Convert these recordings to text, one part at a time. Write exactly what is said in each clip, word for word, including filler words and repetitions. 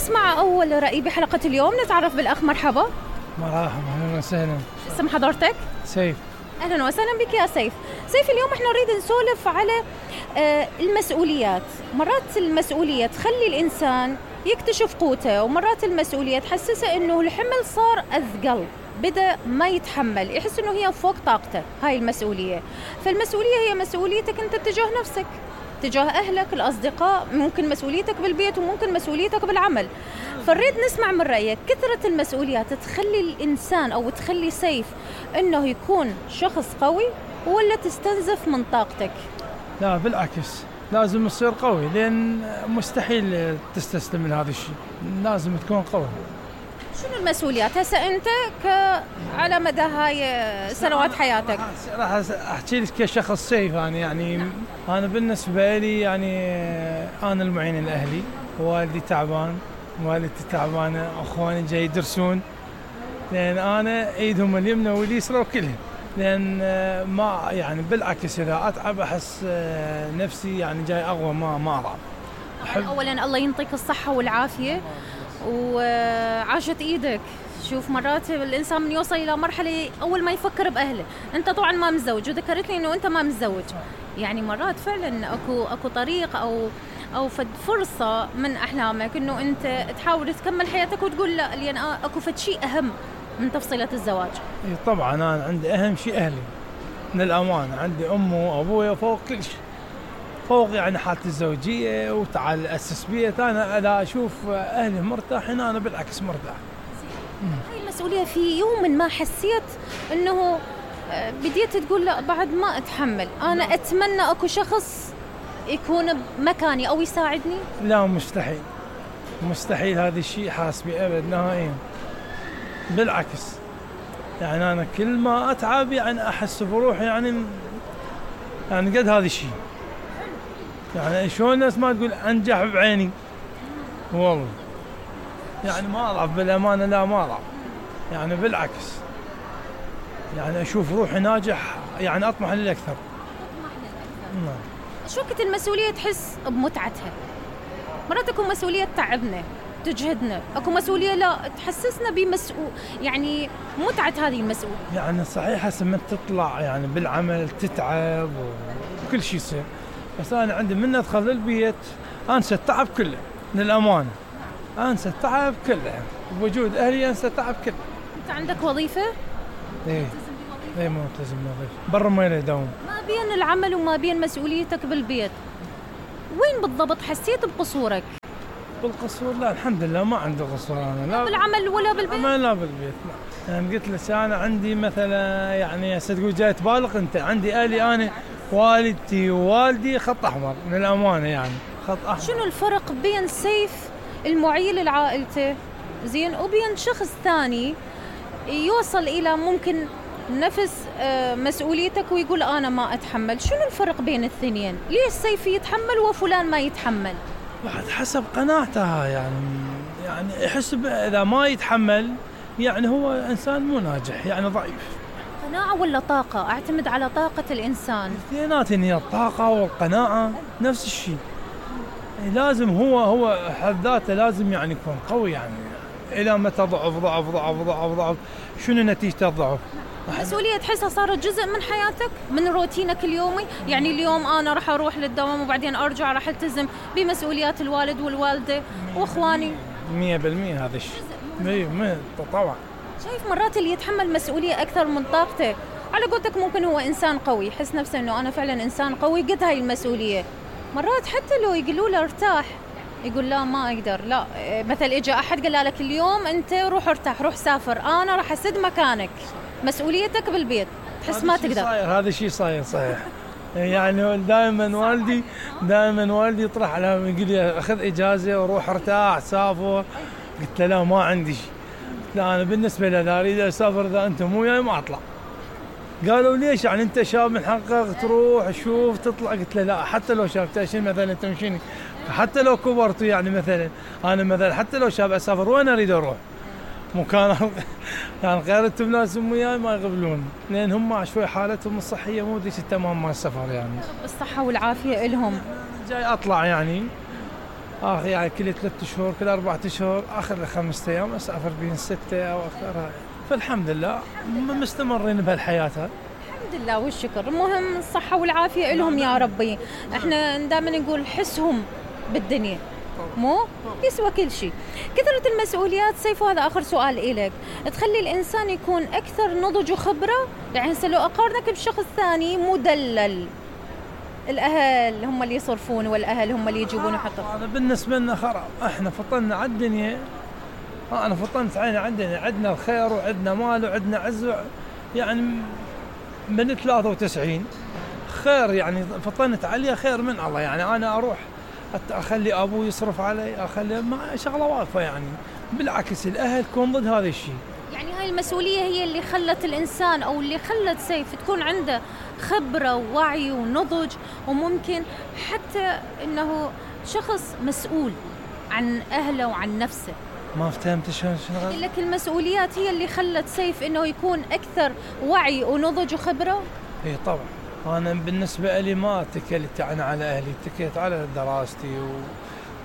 نسمع أول رأي بحلقة اليوم. نتعرف بالأخ. مرحبا. مرحبا، أهلا وسهلا. اسم حضرتك؟ سيف. أهلا وسهلا بك يا سيف. سيف، اليوم احنا نريد نسولف على آه المسؤوليات. مرات المسؤولية تخلي الإنسان يكتشف قوته، ومرات المسؤولية تحسسه إنه الحمل صار أثقل، بدأ ما يتحمل، يحس إنه هي فوق طاقته هاي المسؤولية. فالمسؤولية هي مسؤوليتك أنت تجاه نفسك، تجاه أهلك، الأصدقاء، ممكن مسؤوليتك بالبيت وممكن مسؤوليتك بالعمل. فنريد نسمع من رأيك، كثرة المسؤوليات تخلي الإنسان أو تخلي سيف إنه يكون شخص قوي ولا تستنزف من طاقتك؟ لا بالعكس، لازم تصير قوي، لأن مستحيل تستسلم لهذا الشيء، لازم تكون قوي. شنو المسؤوليات هسه أنت ك على مدى هاي سنوات حياتك؟ راح أحكي لك كشخص سيف. أنا يعني نعم. أنا بالنسبة لي يعني أنا المعين لأهلي، والدي تعبان، والدتي تعبانة، أخواني جاي يدرسون، لأن أنا إيدهم اليمنى واليسرى وكلهم، لأن ما يعني بالعكس إذا أتعب أحس نفسي يعني جاي أقوى، ما ما أضعف. أحب أولاً الله ينطيك الصحة والعافية وعاشت إيدك. شوف مرات الإنسان من يوصل إلى مرحلة أول ما يفكر بأهله. أنت طبعاً ما متزوج، وذكرت لي إنه أنت ما متزوج، يعني مرات فعلاً أكو أكو طريق أو أو فد فرصة من أحلامك إنه أنت تحاول تكمل حياتك وتقول لا، لأن أكو فد شيء أهم من تفصيلة الزواج. طبعاً أنا عندي أهم شيء أهلي، من الأمانة عندي أمي وأبويا فوق كل شيء، فوق يعني حالتي الزوجية، وتعال أسس بيت. أنا إذا أشوف أهلي مرتاحين أنا بالعكس مرتاح. هاي المسؤولية في يوم ما حسيت إنه بديت تقول لا بعد ما أتحمل، أنا لا. أتمنى أكو شخص يكون بمكاني أو يساعدني؟ لا مستحيل، مستحيل هذا الشيء حاسبي أبد نهائيا. بالعكس يعني أنا كل ما أتعب يعني أحس بروحي يعني يعني قد هذا الشيء، يعني شلون الناس ما تقول أنجح بعيني، والله يعني ما أضعف بالأمانة، لا ما أضعف، يعني بالعكس يعني أشوف روحي ناجح، يعني أطمح للأكثر. نعم. شو وقت المسؤولية تحس بمتعتها؟ مرات أكو مسؤولية تعبنا تجهدنا، أكو مسؤولية لا تحسسنا بمسؤول، يعني متعة هذه المسؤولية. يعني صحيح هسه من تطلع يعني بالعمل تتعب وكل شيء يصير، بس أنا عندي من أدخل البيت أنسى التعب كله، للأمانة أنسى التعب كله، بوجود أهلي أنسى التعب كله. أنت عندك وظيفة؟ إيه إيه ملتزم بوظيفة، برا ما لي دوام. ما بين العمل وما بين مسؤوليتك بالبيت، وين بالضبط حسيت بقصورك؟ بالقصور لا الحمد لله ما عندي قصور أنا، لا بالعمل ولا بالبيت؟ لا لا بالبيت لا. يعني قلت لك أنا عندي مثلا يعني هسه تقول جاي تبالغ أنت، عندي أهلي أنا والدتي ووالدي خط أحمر، من الأمانة يعني خط أحمر. شنو الفرق بين سيف المعيل لعائلته زين وبين شخص ثاني يوصل إلى ممكن نفس مسؤوليتك ويقول أنا ما أتحمل؟ شنو الفرق بين الاثنين؟ ليش سيف يتحمل وفلان ما يتحمل؟ واحد حسب قناعته، يعني يعني يحس إذا ما يتحمل يعني هو إنسان مو ناجح، يعني ضعيف. قناعة ولا طاقة؟ أعتمد على طاقة الإنسان. الاثنين هي الطاقة والقناعة نفس الشيء. لازم هو هو حد ذاته لازم يعني يكون قوي، يعني إلى متى ضعف ضعف ضعف ضعف ضعف شنو نتيجة الضعف؟ المسؤولية تحسها صارت جزء من حياتك، من روتينك اليومي، يعني اليوم أنا راح أروح للدوام وبعدين أرجع راح ألتزم بمسؤوليات الوالد والوالدة وإخواني. مية بالمية هذا الشيء. مية طبعا. شايف مرات اللي يتحمل مسؤولية أكثر من طاقته، على قولتك ممكن هو إنسان قوي، يحس نفسه إنه أنا فعلا إنسان قوي قد هاي المسؤولية. مرات حتى لو يقولوا له ارتاح يقول لا ما أقدر، لا مثل إجا أحد قال لك اليوم أنت روح ارتاح روح سافر، أنا راح أسد مكانك، مسؤوليتك بالبيت، تحس ما تقدر. هذا الشيء صاير صحيح. يعني دائما والدي دائما والدي يطرح على يقول لي أخذ إجازة وروح ارتاح سافر، قلت له لا ما عندي شيء، لا أنا بالنسبة لي لا أريد أسافر، إذا أنت مو وياي ما أطلع. قالوا ليش يعني أنت شاب من حقك تروح شوف تطلع، قلت له لا حتى لو شاب تأشين مثلا تمشيني، حتى لو كبرت يعني مثلا أنا مثلا حتى لو شاب أسافر وين أريد أروح مكان يعني غيرت ناس وياي ما يقبلون، لأن هم شوي حالتهم الصحية مو ديش التمام مع السفر، يعني بالصحة والعافية إلهم. جاي أطلع يعني اخر يعني كل ثلاث شهور كل اربع اشهر اخر لي خمسة ايام اسافر بين ستة او اكثر. فالحمد لله مستمرين بهالحياه هاي. الحمد لله والشكر. المهم الصحة والعافية لهم يا ربي. احنا دائما نقول حسهم بالدنيا مو يسوى كل شيء. كثرة المسؤوليات سيف، وهذا آخر سؤال إلك، تخلي الإنسان يكون أكثر نضج وخبرة؟ يعني هسه لو أقارنك بشخص ثاني مدلل، الأهل هم اللي يصرفون والأهل هم اللي يجيبون ويحطون. هذا بالنسبة لنا خراب. احنا فطنا على الدنيا، أنا فطنت عيني على الدنيا، عندنا الخير وعندنا مال وعندنا عز، يعني من ثلاثة وتسعين خير، يعني فطنت عليها خير من الله. يعني أنا أروح أخلي أبوي يصرف علي، أخلي ما شغلة واقفة. يعني بالعكس الأهل تكون ضد هذا الشيء. يعني هاي المسؤولية هي اللي خلت الإنسان أو اللي خلت سيف تكون عنده خبرة ووعي ونضج، وممكن حتى إنه شخص مسؤول عن أهله وعن نفسه. ما فهمت شلون شنو لك المسؤوليات هي اللي خلت سيف إنه يكون أكثر وعي ونضج وخبرة. إيه طبعا. أنا بالنسبة لي ما اتكلت يعني على أهلي، اتكلت على دراستي و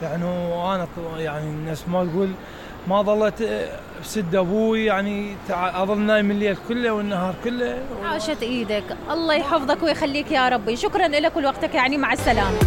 يعني وأنا يعني الناس ما تقول ما ظلت بسد أبوي، يعني أظل نايم الليل كله والنهار كله. عاشت إيدك، الله يحفظك ويخليك يا ربي. شكرا لك ولوقتك، يعني مع السلامة.